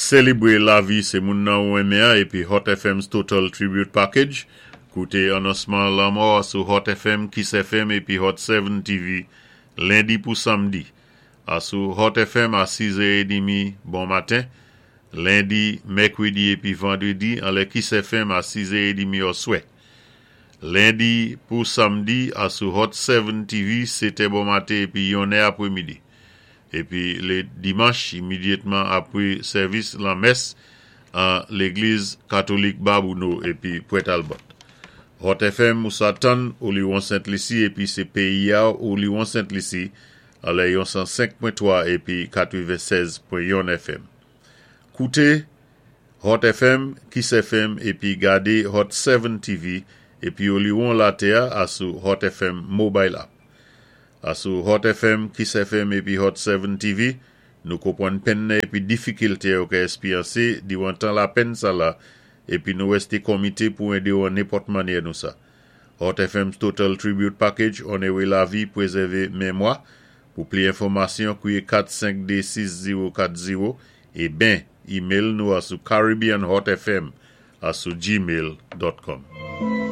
Sélébwé lavi sé moun nan ou renmen épi Hot FM's Total Tribute Package. Kouté anonsman lanmò sou Hot FM, Kiss FM épi Hot 7 TV lendi pou samdi. Asou Hot FM a 6h30 bon maten, lendi, mèkwédi épi vandrédi anlè Kiss FM a 6h30 oswè. Lendi pou samdi asou Hot 7 TV 7è bon maten épi 1è apwémidi. Épi lé dimanch imédyatman apwé sèvis lanmès an légliz katolik Babouno épi Pwent Albert. Hot FM ou sa tann Oliwon Sent Lisi épi sé péyi-a Oliwon Sent Lisi anlè yon 105.3 épi 96.1 FM. Kouté Hot FM, Kiss FM épi gadé Hot 7 TV épi Oliwon latè-a asou Hot FM Mobile App. Asou Hot FM, Kiss FM épi Hot 7 TV, nou konpwann penn nan épi difikilté yo ka èspéryansé diwan tan lapenn sala épi nou wèsté konmité pou édé ou an nenpòt mannyè nou sa. Hot FM's Total Tribute Package onéré lavi, pwézèvé mémwa. Pou pli enfòmasyon, kwiyé 452 6040 é ben email nou asou caribbeanhotfm asou gmail.com.